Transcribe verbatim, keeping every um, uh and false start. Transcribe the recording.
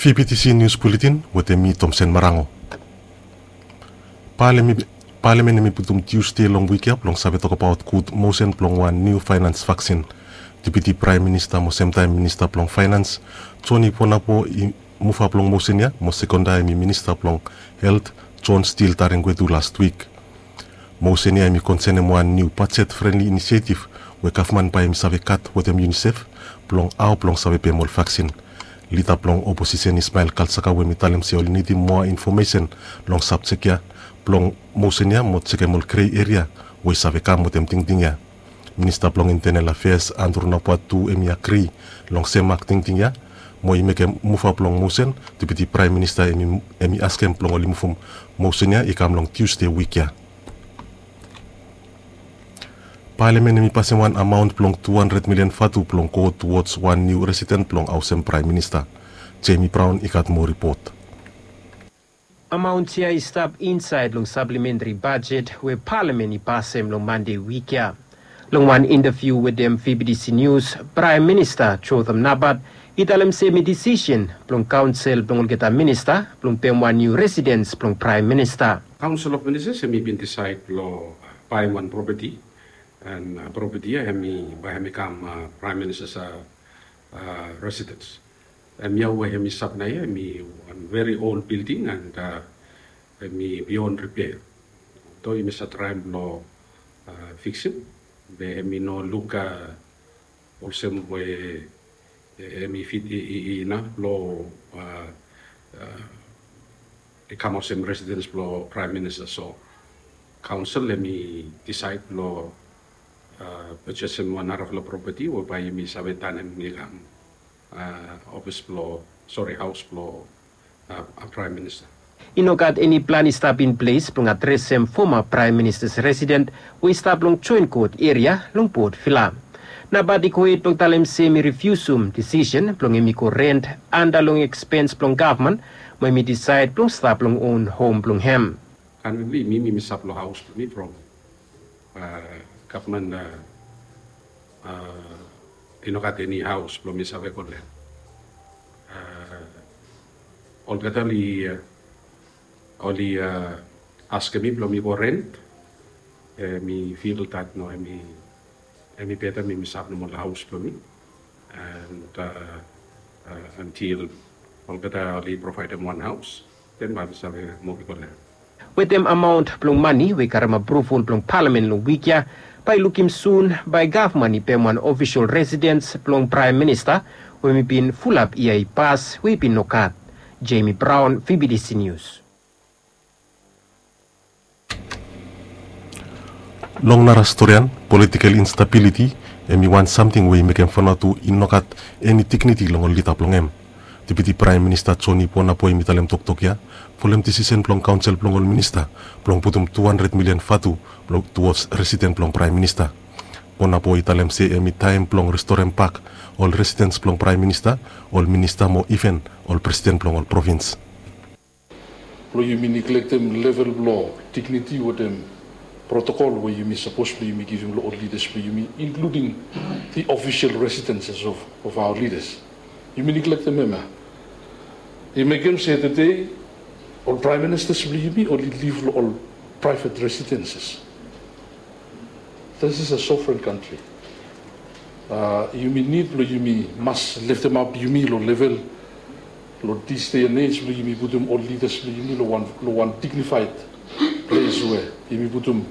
V B T C News Bulletin wetem mi Tomsen Marango. Palemen, Palemen hemi putum Tiusde long wik ya blong save tokbaot gud mosen blong wan niu faenans vaksin. Deputi Praem Minista mo semtaem Minista blong Faenans, Joni Ponabo, i muvap long mosen ya, mo sekonda hemi Minista blong Helt, John Steele Taringwetu, last wik. Mosen ya hemi konsenem wan niu bajet frenli inisietif we gavman bae hemi save gat wetem UNICEF blong hao blong save pem ol vaksin. Lida blong oposisen Ismael Kalsaka we hemi talem se oli nidim moa infomesen long sabjek ya blong mosen ya mo jekem ol grei eria we i save kam wetem tingting ya. Minista blong Internal Affairs Andrew Nabua tu hemi agri long sem mak tingting ya mo i mekem muvap long mosen. Deputi Praem Minista hemi, hemi askem blong oli muvum mosen ya i kam long Tiusde wik ya. Palemen hemi pasem wan amaon blong tu handred milian vatu blong go towards wan niu residen blong haosem Praem Minista. Jamie Brown i gat moa ripot. Amaon ya i stap insaed long saplementri bajet we Palemen i pasem long Mande wik ya. Long wan intaviu wetem V B T C News, Praem Minista Jotham Napat i talem se hemi disisen blong kaonsel blong olgeta minista blong pem wan niu residens blong Praem Minista. Council of Ministers hemi bin disaed blong baem wan propeti, and, uh, propeti ya hemi, bae hemi kam, uh, Praem Minista, uh, uh, residens. Hemia we hemi stap naoia hemi wan very old building and, uh, hemi beyond repair. Although yumi save traem blong, uh, fiksim, be hemi no luk, uh, olsem we, eh, hemi fit i, i, i inaf blong, uh, uh, i kam olsem residens blong Praem Minista. So kaonsel hemi disaed blong, uh, purchasem wan narafala propeti we bae yumi save tanem i kam, uh, ofis blong, sori, haos blong, uh, uh, Praem Minista. I no gat eni plan i stap in ples blong adresem foma Praem Minista's residen we i stap long Joen Kot eria long Port Vila. Napat i gohed blong talem se hemi rifiusum disisen blong hemi go rent anda long ekspens blong gavman, mo hemi disaed blong stap long own hom blong hem. Currently mi, mi, mi stap long haos blong mi from, uh, gavman, uh, uh, i no gat eni haos blong mi save kolem. Uh, olgeta oli, uh, oli, uh, askem mi blong mi go rent. Uh, mi feel that no, hemi, hemi beta mi, mi stap nomo long haos blong mi. And, uh, uh, until olgeta oli provaedem wan haos, then bae mi save muv i go long hem. Wetem amaon blong mane we i karem apruval blong Palamen long wik ya, bae i lukim sun bae gavman i pem wan ofisol residens blong Praem Minista we hemi bin fulap yia i pas we i bin nogat. Jamie Brown, V B T C News. Long nara storian, politikel instabiliti hemi wan samting we i mekem Vanuatu i nogat eni digniti long ol lida blong hem. Deputi Praem Minista Joni Ponabo hemi talem toktok ya folem disisen blong kaonsel blong ol minista blong putum tu handred milian vatu blong tuwods residen blong Praem Minista. Ponabo i talem se hemi taem blong restorem bak ol residens blong Praem Minista, ol minista mo iven ol presiden blong ol provins. Blong yumi niglektem level blong digniti wetem protokol we yumi sapos blong yumi givim long ol lidas blong yumi, including the official residences of, of our leaders. Yumi niglektem hem ya. I mekem se tede ol praem ministas blong yumi oli liv long ol private residences. This is a sovereign country. Uh, yumi nid blong yumi mas leftemap yumi long level, long this day and age, blong yumi putum ol lidas blong yumi long wan, long wan dignified ples we yumi putum